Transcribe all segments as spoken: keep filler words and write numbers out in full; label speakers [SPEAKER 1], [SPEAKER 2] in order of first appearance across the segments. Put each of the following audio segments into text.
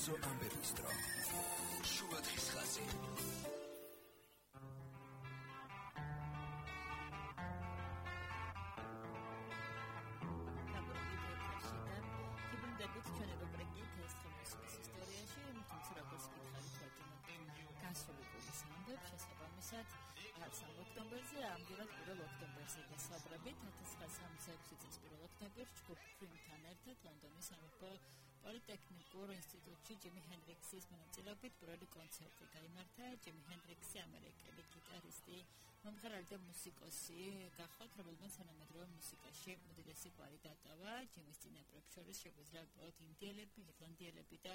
[SPEAKER 1] Ambestro. Შუადღის ხაზი.
[SPEAKER 2] ოქტომბერზე ამგვარად პირველ ოქტომბერზე გასაუბრებით ათას ცხრაასი ორმოცდაექვსი წლის პირველ ოქტომბერს ჯგუფ Cream-თან ერთად ლონდონის სამეფო პოლიტექნიკურ ინსტიტუტში ჯიმი ჰენდრიქსის მონაწილეობით პირველი კონცერტი გაიმართა. ჯიმი ჰენდრიქსი ამერიკელი გიტარისტი, მომღერალი და მუსიკოსი გახლავთ, რომელმაც თანამედროვე მუსიკაში უდიდესი კვალი დატოვა. ჯიმის წინაპრებს შორის შეგვიძლია უბრალოდ ინდიელები, ირლანდიელები და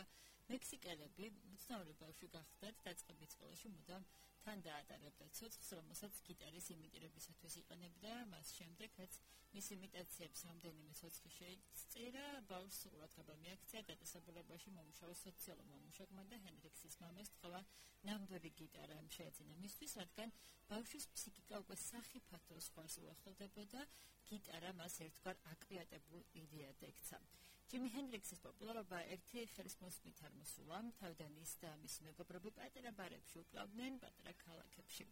[SPEAKER 2] მექსიკელები. უცნაური ბავშვი გახლდათ, დაწყებით სკოლაში მუდამ თან დაატარებდა ცოცხლს, რომელსაც გიტარის იმიტირებისათვის იყენებდა. მას შემდეგ, რაც მის იმიტაციებს რამდენიმე ცოცხლი შეიწირა, ბავშვს ყურადღება მიაქცია დაწესებულებაში მომუშავე სოციალურმა მუშაკმა და ჰენდრიქსის მამას თქვა ნამდვილი გიტარა შეეძინა მისთვის, რადგან ბავშვის ფსიქიკა უკვე სახიფათო ზღვარს უახლოვდებოდა. გიტარა მას ერთგვარ აკრეატებულ იდეად ექცა. ჯიმი ჰენდრიქსის პოპულარობა ერთი ხელის მოსმით არ მოსულა. თავიდან ის და მისი მეგობრები პატარა ბარებში უკლავდნენ პატარა ქალაქებში.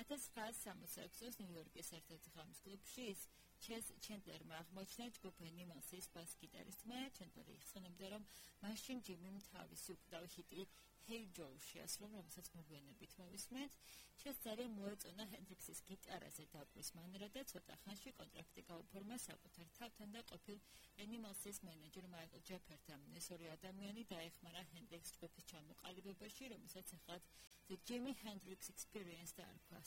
[SPEAKER 2] ათას ცხრაასი სამოცდაექვსი წელს ნიუ-იორკის ერთ-ერთ ღამის კლუბში ის ჩეს ჩენდლერმა აღმოაჩინა ჯგუფ Animals-ის ბას-გიტარისტმა. ჩენდლერი იხსენებდა, რომ მაშინ ჯიმიმ თავისი უკდავი ჰიტი Hey Joe შეასრულა, რომელსაც მოგვიანებით მოვისმენთ. ჩეს ძალიან მოეწონა ჰენდრიქსის გიტარაზე დაკვრვის მანერა და ცოტა ხანში კონტრაქტი გაუფორმა საკუთარ თავთან და ყოფილ Animals-ის მენეჯერ მაიკლ ჯეფერთან. ეს ორი ადამიანი დაეხმარა ჰენდრიქსს ჯგუფის ჩამოყალიბებაში, რომელსაც ახლა The Jimi Hendrix Experience დაარქვა.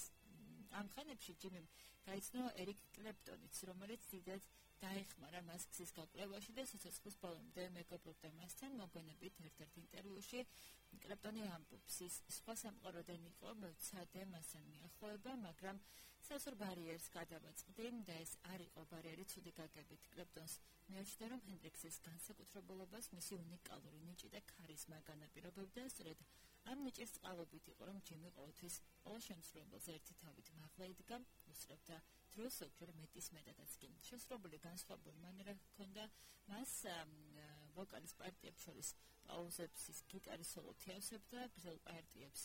[SPEAKER 2] ამ ხანებში ჯიმიმ გაიცნო ერიკ კლეპტონიც, რომელიც დიდად დაეხმარა მას გზის გაკვლევაში და სიცოცხლის ბოლომდე მეგობრობდა მასთან. მოგვიანებით ერთ-ერთ ინტერვიუში კლეპტონი ამბობს, ის სხვა სამყაროდან იყო, მოვცადე მასთან მიახლოება, მაგრამ სასურ ბარიერს გადავაწყდი და ეს არ იყო ბარიერი ცუდი გაგებით. კლეპტონს მეორჩნდა, რომ ჰენდრიქსის განსაკუთრებულობას მისი უნიკალური ნიჭი და ქარიზმა განაპირობებდა. სწორედ ამ ნიჭის წყალობით იყო, რომ ჯიმი ყოველთვის ყველა შემსრულებელს ერთი თავით მაღლა იდგა, უსწრებდა დროს ზოგჯერ მეტის მეტადაც კი. შესრულებული განსხვავებული მანერა ჰქონდა მას, ვოკალის პარტიებს შორის პაუზებს ის გიტარის სოლო თიავსებდა, გრძელ პარტიებს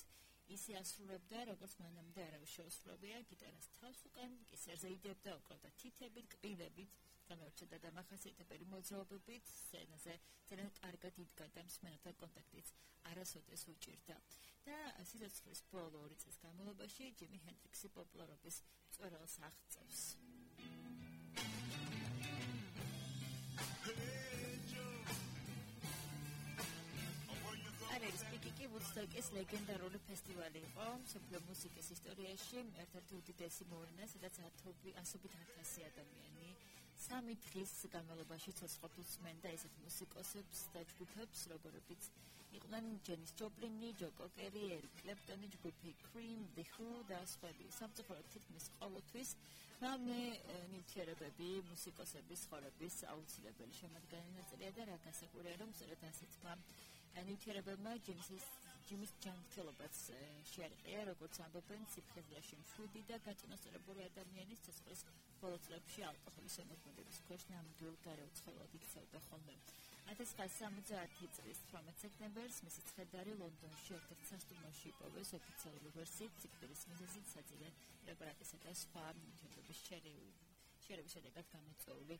[SPEAKER 2] ისე ასრულებდა, როგორც მანამდე არავის შეუსრულებია. გიტარას თავს უკან კისერზე იდებდა, უკრავდა თითებით, კბილებით, განავრცელდა დამახასიათებელი მოძრაობებით, სცენაზე ძალიან კარგად იდგა და მსმენელთან კონტაქტიც არასოდეს უჭირდა. და სიცოცხლის ბოლო ორი წლის განმავლობაში ჯიმი ჰენდრიქსი პოპულარობის მწვერვალს აღწევს. არის პიკიკი ვუდსტოკის ლეგენდარული ფესტივალი იყო მსოფლიო მუსიკის ისტორიაში, ერთ-ერთი უდიდესი მოვლენა, სადაც ასობით ათასი ადამიანი სამი დღის განმავლობაში ცოცხლობს სმენდა ესეთ მუსიკოსებს და ჯგუფებს, როგორებიც იყვნენ ჯენის ჯოპლინი, ჯო კოკერი, ერიკ კლეპტონი, ჯგუფი Cream, The Who და სხვები. სამწუხაროდ თითქმის ყოველთვის მამე ნივთიერებები მუსიკოსების ცხოვრების აუცილებელი შემადგენელი ნაწილია და რა გასაკვირია, რომ სწორედ ასეთმა ნივთიერებებმა ჯიმის ჯიმის ჯანმრთელობაც შეარყია, როგორც ამბობენ, სიფხიზლეში მშვიდი და გაწონასწორებული ადამიანის ცოცხლის ბოლო წლებში ალკოჰოლის ემოქმედების ქვეშ ნამდვილ გარეუცხლოდ იქცეოდა ხოლმე. ათას ცხრაასი სამოცდაათი წლის თვრამეტ სექტემბერს მისი ცხედარი ლონდონში ერთ-ერთ სასტუმროში იპოვეს ოფიციალური ვერსიით, სიკვდილის მიზეზით საძილე პრეპარატისა და სხვა ნივთიერებების შერევის შედეგად გამოწვეული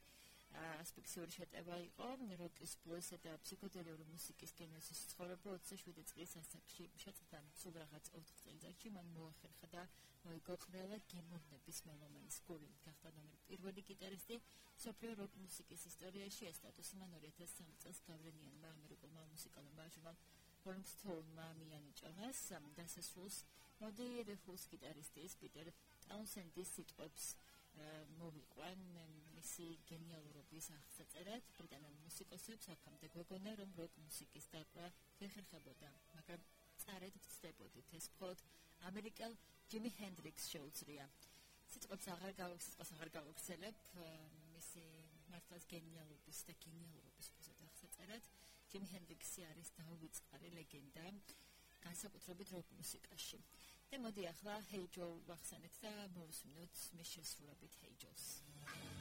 [SPEAKER 2] ასფიქსიური შეტევა იყო. როკის, ბლუზისა და ფსიქოდელიური მუსიკის გენეზის ცხოვრება ოცდაშვიდი წლის ასაკში შეწყდა. სულ რაღაც ოთხ წელიწადში მან მოახერხა და მოიგო ყველა გემოვნების მელომანის გულით. გახდა ნომერ პირველი გიტარისტი მსოფლიო როკ მუსიკის ისტორიაში. ეს სტატუსი მან ორი ათას სამი წელს გავლენიანმა ამერიკულმა მუსიკალურმა ჟურნალ Rolling Stone-მა მიანიჭა. დასასრულს მოდი The Who's გიტარისტის პიტერ ტაუნსენდის სიტყვებს მოვიყვან მისი გენიალურობის აღსაწერად. ბრიტანელ მუსიკოსებს აქამდე გვეგონა, რომ როკ მუსიკის დაკვრა ხერხებოდა, მაგრამ წარედ ვწდებოდით, ეს მხოლოდ ამერიკელ ჯიმი ჰენდრიქსს შეუძლია. სიტყვებს აღარ გავაგზავნებ, აღარ გავაგზავნებ მისი მართლაც გენიალურობის და გენიალურობის აღსაწერად. ჯიმი ჰენდრიქსი არის დაუვიწყარი ლეგენდა განსაკუთრებით როკ მუსიკაში. და მოდი ახლა Hey Joe ვახსენეთ და მოვისმინოთ მის შესრულებით Hey Joe-ს.